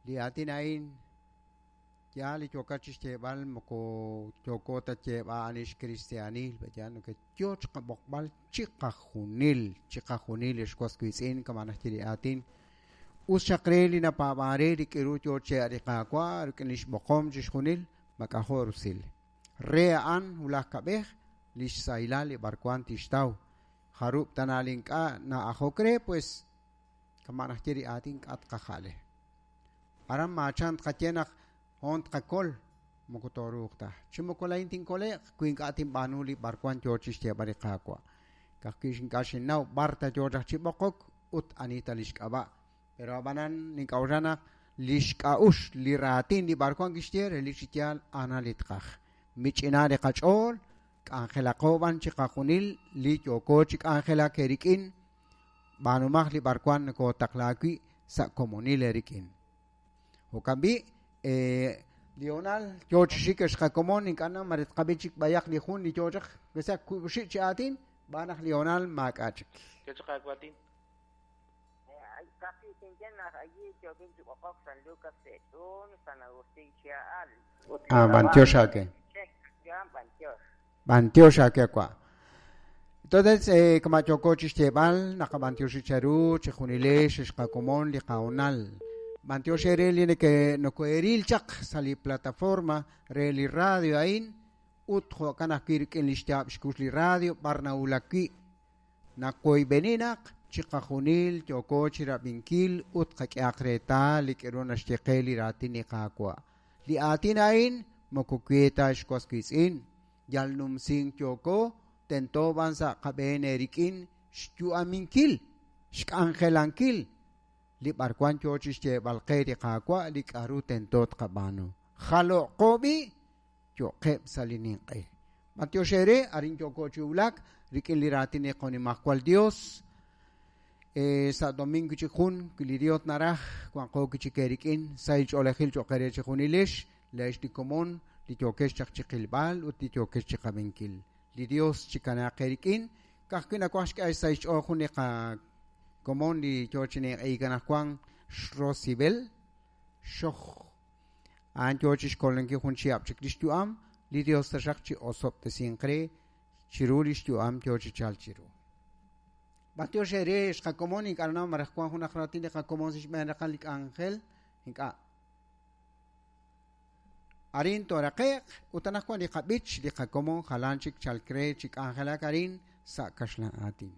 Li aatin a'in yaal li yookat chixyeeb'al moko yooko ta xyeeb'al ani xkristiaanil, b'eyaal neke yoo chiqab'oqb'al chiqajunil, chiqajunil ex was wiitz'in kama' naxye li aatin. Us xaq re li napaab'an re li k'aru yoo chi li Qaawa' rik'in lix b'oqom chixjunil, mak'ajo' rusil. Re a'an wulaj kab'ej lix sahilal li b'arwan tixtaw. Jarub' tana li ink'a' na'ajok re, pues kama' naxye li aatin k'a' tqaja'le. Aran maachan tqaye naq hoon tqakol, moko tooruuq ta. Chi moko laa'in tinkole'q wi ink'a' tinb'aanu li b'arwan yoo chixyeeb'al li Qaawa'. Ka'ajwi' ink'a' xinnaw b'ar ta yoo chaq chi b'oqok ut ani ta lix k'ab'a'. Pero ab'anan nink'a'uxla naq lix k'a'uxl li raatin li b'arwan kixye relik chi yaal a'an li tqaj. Mich'ina li qach'ool, k'anjelaqo b'an chiqajunil li yooko chi k'anjelak eerik'in, b'aanumaq li b'arwan nokotaqla wi' sa' komonil eerik'in. Jo'kan b'i', li honal yoo chi xik ex qakomon ink'a' na mare tqab'i chik b'ayaq li jun li yoo chaq wesa wiib' chi aatin b'aan naq li honal maak'a' chik. Yo chaq aawatin. Ka'ajwi' tinye naq allí yookin chi b'oqok San Lucas Sech'un, San Agustín Chia'al. Ut Ah, b'antiox aake. Yan b'antiox. B'antiox aake wa'. Entonces, kama' yooko chixyeeb'al naqab'antioxi cheru chijunilex ex qakomon li qahonal. B'antiox eere li neke nokoeril chaq sa' li plataforma re li radio a'in ut jo'kan ajwi' rik'in li xyaab' xkux li radio b'ar nawulak wi'. Naqoyb'eni naq chiqajunil yooko chirab'inkil ut qak'ehaq reetal li k'aru naxye qe li raatin li Qaawa'. Li aatin a'in moko we ta ex was wiitz'in, yal numsink yooko, tento b'an sa' qab'een eerik'in xyu'aminkil, xk'anjelankil li b'arwan yoo chixyeeb'al qe li Qaawa' li k'aru tento tqab'aanu. Jalo'qo b'i' yo'qeb' sa' li ninq'e. B'antiox eere, arin yooko chi wulak rik'in li raatin li qonimajwal Dios. Sa' domingo chik jun, wi li Dios naraj, wanqo wi chik eerik'in, sahil ch'oolejil cho'q eere chejunilex, leex li komon, li yookex chaq chi qilb'al ut li yookex chi qab'inkil. Li Dios chikanaaq eerik'in, ka'ajwi' nawaj xk'e sa' xch'ool jun li qakomon li yoo chi ninq'ehik anaqwan, Xrosibel Xoj. A'an yoo chixkolankil jun chihab' chik lix yu'am, li Dios taxaq chi osob'tesinq re chiru lix yu'am yoo chi chalk chiru. B'antiox eere ex qakomon ink'a' nanaw maraj wan junaq raatin li qakomon sa' xb'een raqal li k'anjel ink'a'. Arin tooraqe'q ut anaqwan li qab'ich li qakomon jalan chik chalk re chi k'anjelak arin sa' kaxlan aatin.